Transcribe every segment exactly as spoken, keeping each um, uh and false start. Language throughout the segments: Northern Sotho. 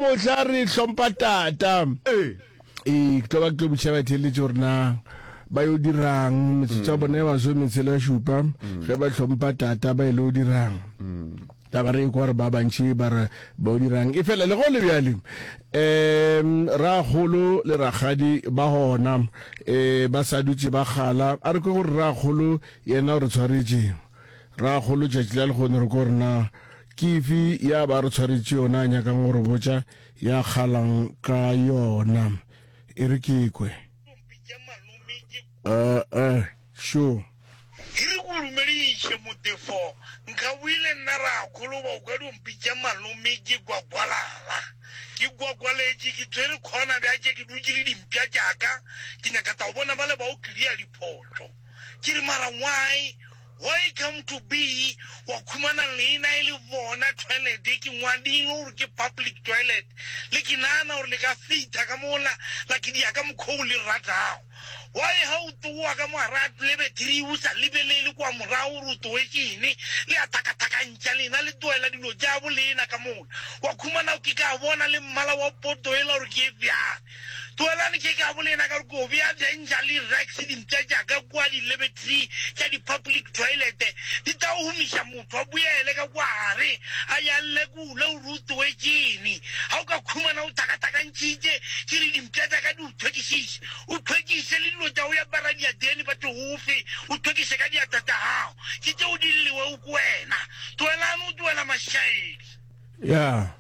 Mohla re hlompha tata. Ee. Ee, ke tlo ba ke tlo botšiša batheeletši gore na ba yo dirang metsotso ya bona ya masometshela šupa ge ba hlompha tata ba ile o dirang. Taba re ekwa gore ba bantši ba re ba o dirang. E fela le go le bjale um rakgolo le rakgadi ba gona um ba sa dutše ba kgala. A re kwe gore rakgolo yena o re tshwaretše. Rakgolo tšatši la lehono re kwe gore na ke efe ya ba re tshwaretše yona a nyakang go re botša ya kgalang ka yona. E re ke kwe. Uh, uh, sure. E re ko dumediše motefo, nka boile nna rakgolo ba o ka dio mpitša malome ke gwagwalala. Ke gwagwaletše ke tshwere khona bjatše ke dutše le dimpša tšaka ke nyaka ta go bona bale ba o clear diphošo. Ke re mara why why come to be wa khumana leina e le bona toilet ke ngwadile gore ke public toilet le ke nagana gore le ka fitha ka mola la ke dia ka mokgwa o le ratago. Why ha o tloa ka mogare a lavatory o sa lebelele kwa morago gore o tloetšene le a thakathakantšha lena le tlohela dilo tša bo lena ka mola wa khumana ke ka bona le mmala wa poto ela gore ke e bjang. Tlohelane ke ka bo lena ka gore ke o bea danger le rex dimpša tša ka kua di-lavatory tša di-public toilet di tla humiša motho a boele ka kwa gare a ya lekule gore o tloetšene. Ga o ka khumana o thakathakantšhitše ke re dimpša tša ka di o tlhwekišiše o tlhwekiše le dilo tša go ya bara diatene ba tlogofe o tlhwekiše ka diatla tša gago ke tšeo di lliwego ke wena. Tlohelane o tlohela mašaedi. Ya.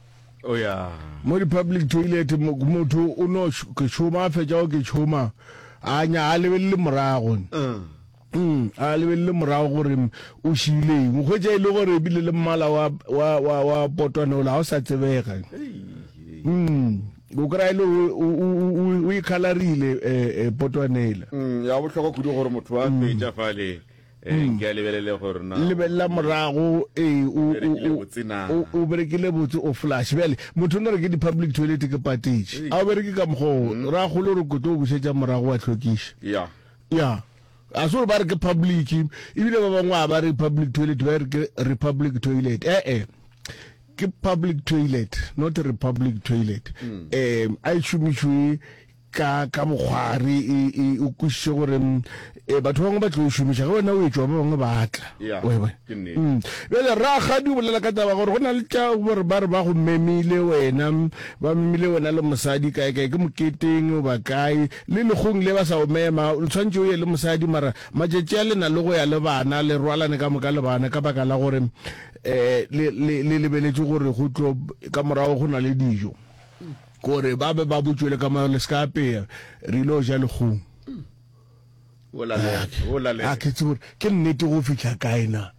O ya. Mo di-public toilet motho o no ke šoma a fetša go ke šoma a nya a lebelele morago. Mm, a lebelele morago gore o šiile eng. O hwetša e le gore ebile le mmala wa wa wa wa potwana ola ga o sa tsebega. Mm, o kry-a e le gore o o o e colorile eh, eh, potwana ela. Mm, ya bohlokwa kudu gore motho a fetša fale eh, ke a lebelele gore na lebelela morago ee o berekile o botse na. o o berekile botse o flush bjale motho o no re ke di-public toilet ke patetše a o bereke ka mokgwa o rakgolo re ko tlo o bušetša morago wa hlwekiša ya ya a se gore ba re ke public ebile ba bangwe a ba re public toilet ba re ke republic toilet ee ke public toilet not republic toilet um a e šomišwe ka ka bokgwari e e o kwešiše gore e batho ba bangwe ba tlo e šomiša ge wena o etšwa ba bangwe ba tla Ya, wa e bona ke nnete. Mm. Bjale rakgadi o bolela ka taba gore go na le tša gore ba re ba go memile wena ba memile wena le mosadi kae kae ke moketeng goba kae le lekgong le ba sa o mema o tshwanetse o ye le mosadi mara matšatši a le na le go ya le bana le rwalane ka moka le bana ka baka la gore um le le le lebeletše gore go tlo ka morago go na le dijo gore ba be ba botšwele ka morago le se ka apea re ile go ja lekgong. O lalela, o lalela. A ke tsebe gore ke nnete go fihla kae na.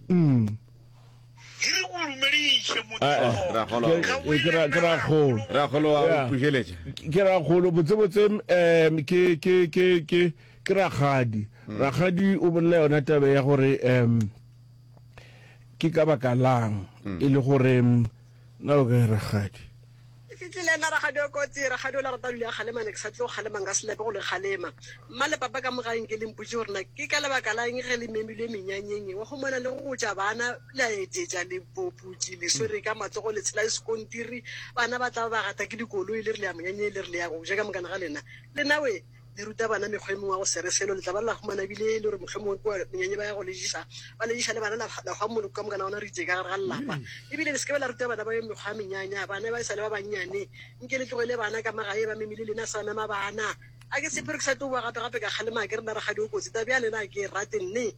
Mm. E re ko dumediše Ah, motefo Rakgolo. Ke nka ke boile ra nna ke rakgolo. rakgolo Rakgolo wa Ya. o pušeletša. Ke rakgolo botsebotse um ke ke ke ke ke rakgadi. Rakgadi o bolela yona taba ya gore um ke ka baka lang e le gore na o kae rakgadi. E fihlile nna rakgadi o kotsi rakgadi o la rata dula kgalema ne ke sa tlo kgalema nka se lape go le kgalema mma le papa ka mogaeng ke le mpotše gore na ke ka lebaka la eng ge le memilwe menyanyeng wa humana le go gotša bana le a etetša le poputše le swere ka matsogo le tshela sekontiri bana ba tla ba ba gata ke dikoloi le re le ya monyanyeng le re le ya go ja ka mokana ga lena lena we le ruta bana mekgwa e mengwe ya go se re selo le tla ba la humana ebile e le gore mohlomongwe kua menyanye ba ya go lejiša ba lejiša le bana la la hwa moloko ka mokana ona re itse ka gare ga lelapa ebile le se ke be la ruta bana ba yo mekgwa ya menyanya bana ba e sa le ba bannyane nke le tlogele bana ka magae ba memile lena sa mema bana a ke sephiri ke sa tlo boa gape gape ka kgalema ke re nna rakgadi o kotsi tabe ya lena a ke e rate nne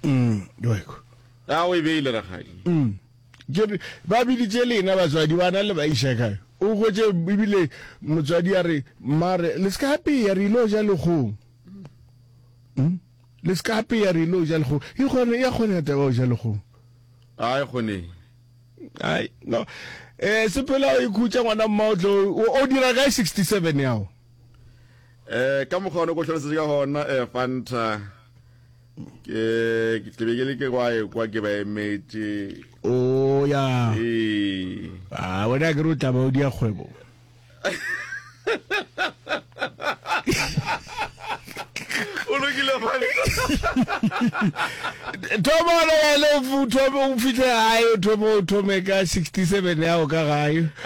Mm, yoiko. A o e beile rakgadi. Mm. Ke re ba biditše lena batswadi bana le ba iša kae o hwetše ebile motswadi a re mare le se ka apea re ile go ja lekgong Mm? le se ka apea re ile go ja lekgong e kgone ya kgone taba go ja lekgong A e kgone. ai no eh sepela o ikhutša ngwana mma o tlo o o dira kae sixty-seven yago Eh ka mokgwa o ne ko hlalosetše ka gona eh Fanta ke ke be ke le ke kwa e kwa ke ba emetše. O ya. Ee. Ah wena ke re o tla ba o dia kgwebo. O lokile. Lokile Fanta. Thoma gona bjale o thome o fihle gae o thome o thome ka sixty seven yago ka gae.